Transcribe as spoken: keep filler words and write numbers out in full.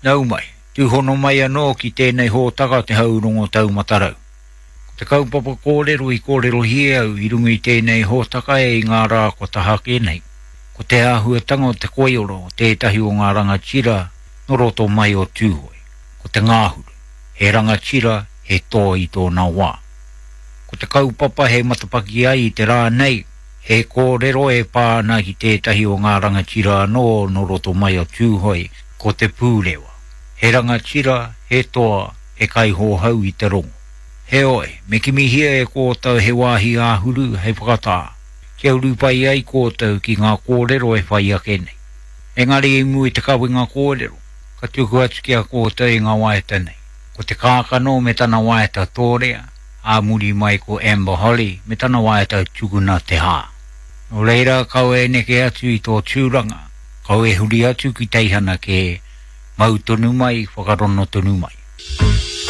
Nau mai, tūhono mai anō ki tēnei hōtaka te haurongo taumatarau. Ko te kaupapa kōrero i kōrerohia au i runga i tēnei hōtaka e i ngā rā kua taha ake nei. Ko te āhuatanga o te koiora o tētahi o ngā rangatira nō roto mai o Tūhoe. Ko te ngāhuru, he rangatira, he toa i tōna wā. Ko te kaupapa he matapaki ai i te rā nei, he kōrero e pā ana ki tētahi o ngā rangatira anō nō roto mai o Tūhoe, ko te Pūrewa. He rangatira, he toa, he kaihohau i te rongo. Heoi, me kimihia e kōtou he wāhi āhuru hei whakatā, kia uru pai ai kōtou ki ngā kōrero e whai ake nei. Engari i mua i te kawenga kōrero, ka tuku atu ki a kōtou i ngā waiata nei. Ko te kākano me tana waiata tōrea, ā muri mai ko Amber Holly me tana waiata tukuna te hā. Nō reira, kaua e neke atu i tō tūranga, kaua e huri atu ki teihana kē, mau tonu mai, whakarono tonu mai.